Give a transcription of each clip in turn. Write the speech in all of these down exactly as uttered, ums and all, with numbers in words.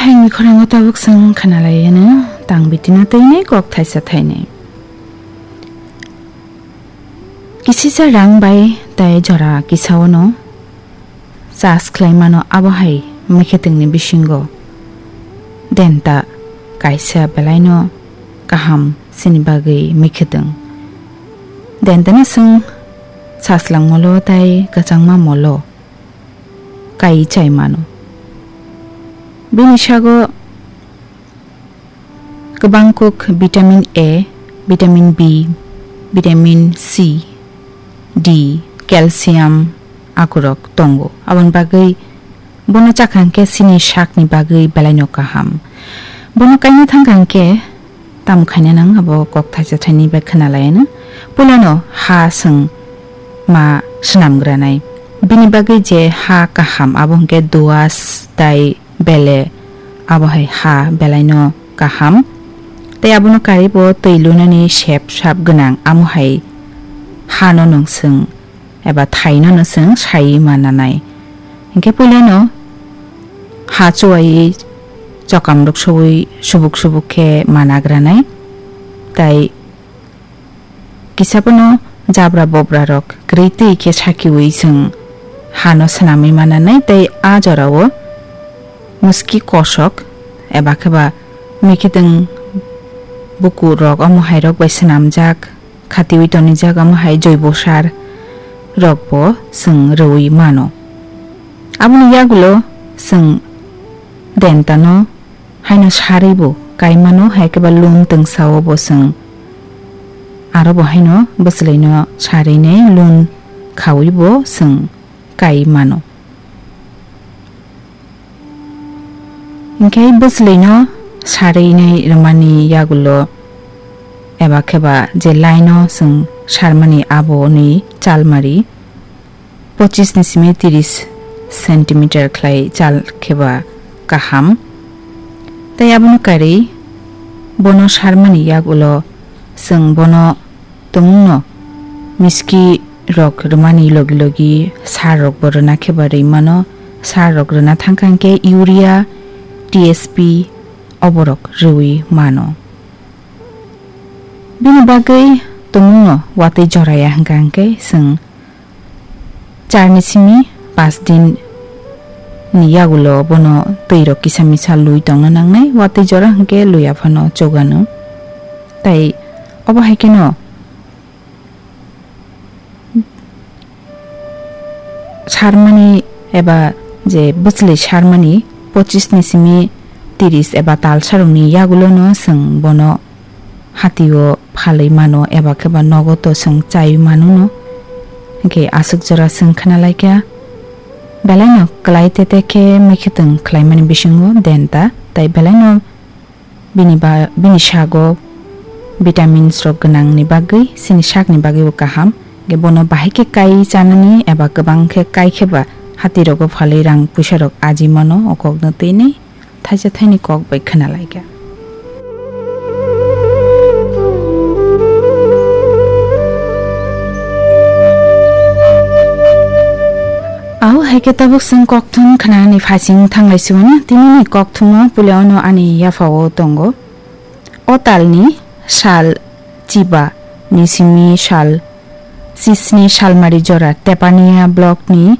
Ani khorang o tabuk chwng khwnalaiano tang bitino teinai kok thaisa thainai. Kisisa rang bai tai jora kisaono chas khlai mano, abo hai mwkhwtwngni bisingo denta kaisa belaino kaham sini bagwi mwkhwtwng. Dentano chwng chaslang molo tai kwchangma molo kai chai mano. Bini sago kwbang kuk vitamin A, vitamin B, vitamin C, D, calcium akurok tongo. Aboni bagwi bono chakha hwnkhe chini sakni bagwi belaino kaham. Bono kaina thangkha hwnkhe tamo khaina nang abo kok thaisa thaini bai khwnalaiano. Puilano ha chwng ma swnamgranai. Bini bagwi je ha kaham abo hwnkhe duas tai bele, abo hai ha belaino kaham. Tei abono karwi bo twi lunani sep sap gwnang, amo hai hano nwng chwng eba thaino no chwng saiwi mananai. Hinkhe puilano ha chuwaiwi chokamrok sowi subuk subuk khe managranai. Tai kisa phano jabra bobra rok kwrwi twi khe sakiwi chwng hano swnamwi mananai, tei a jorao muski kosok eba khe ba mwkhwtwng bukur rok omo hai rok bai swnamjak, khatiwi tonijak, omo hai joibo sar rok bo chwng rwui mano. Aboni yagulo chwng dentano haino sarwi bo kai mano, hai khe ba lun twngsao bo chwng aro bo haino bwchwlaino sarwi nai lun khawi bo chwng kai mano. Hinkhe bwchwlaino sarwi nai rwmani yagulo eba khe ba je laino chwng sarmani aboni chalmari pochis ni simi tiris centimeter khlai chal khe ba kaham. Tei abono karwi bono sarmani yagulo chwng bono tumungno miski rok rwmani logi logi sar rok bo rwna khe ba rwi mano. Sar rok rwna thangkha hwnkhe urea, T S P oborok rwui mano. Bini bagwi tumungno watwi joraya hwnkha hwnkhe chwng char ni simi panch din ni yagulo bono twi rok kisa misa lui tongna nangnai, watwi jora hwnkhe lui aphano chugano. Tai obo hai kheno sarmani eba je bwchwlwi sarmani pochis ni simi tiris eba talsarokni yagulono chwng bono hatio phalwi mano eba khe ba nogo to chwng chaiwi mano no. Hinkhe aswk jora chwng khna laikha, belaino kwlai tete khe mwkhwtwng khlaimani bisingo denta, tai belaino bini ba, bini sago vitamins rok gwnangni bagwi chini sakni bagwibo kaham. Hinkhe bono bahai khe kai chanani eba kwbang khe kai khe ba hatirogo phalwi rang puisa rok aji mano, o kokno twi nai thaisa thaini kok bai khna laikha. Au hai khe tabuk chwng kokthum khnani phaising thanglai siwani, tinini kokthumo puila ono ani yaphao tongo. O talni sal chiba ni simi sal chisni salmari jora Tepania block ni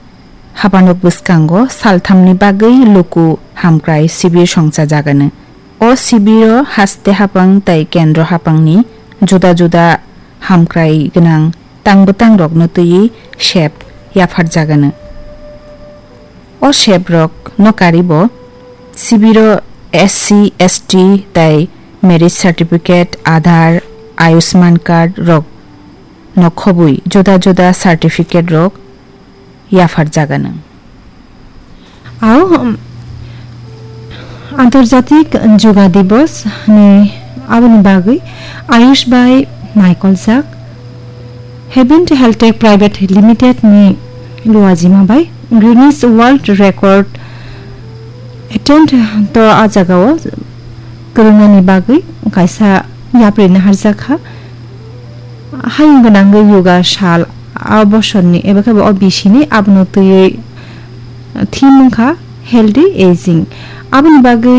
habanok bwskango salthamni bagwi luku hamkrai sibir songchajagano. O sibiro haste hapang tai kendro hapangni juda juda hamkrai gwnang tang bwtangrokno twiwi sep yapharjagano. O seprokno karibo sibiro S C, S T tai marriage certificate, Aadhaar, Ayushman card rokno khobwi juda juda certificate rok yapharjagano. Au, um, Antarjatik Yoga Divas ni aboni bagwi Ayush bai naikoljak Heaven Health Tech Private Limited ni luajima bai Guinness World Record attempt to a jagao kwrwngnani bagwi kaisa yapri naharjak kha. Hayung gwnangwi yoga sal a bosorni eba khe bo o bisini abono twiwi theme wngkha healthy aging. Aboni bagwi